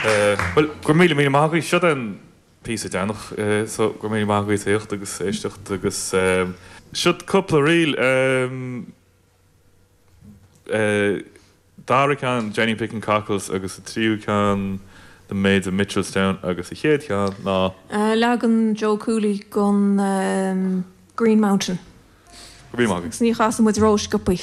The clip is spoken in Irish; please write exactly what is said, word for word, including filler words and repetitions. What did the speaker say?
Bhuel, go raibh míle míle maith agaibh. Seo an píosa deireanach, so go raibh míle maith agaibh as éisteacht agus éisteacht agus seo cúpla ríl. Dara ceann Jenny Picking Cockles agus a tríú ceann The Maids of Mitchelstown agus a chéad cheann ná. Leagan Joe Cooley den Green Mountain. Go raibh míle maith agaibh. Ní chasann muid rósciobtha.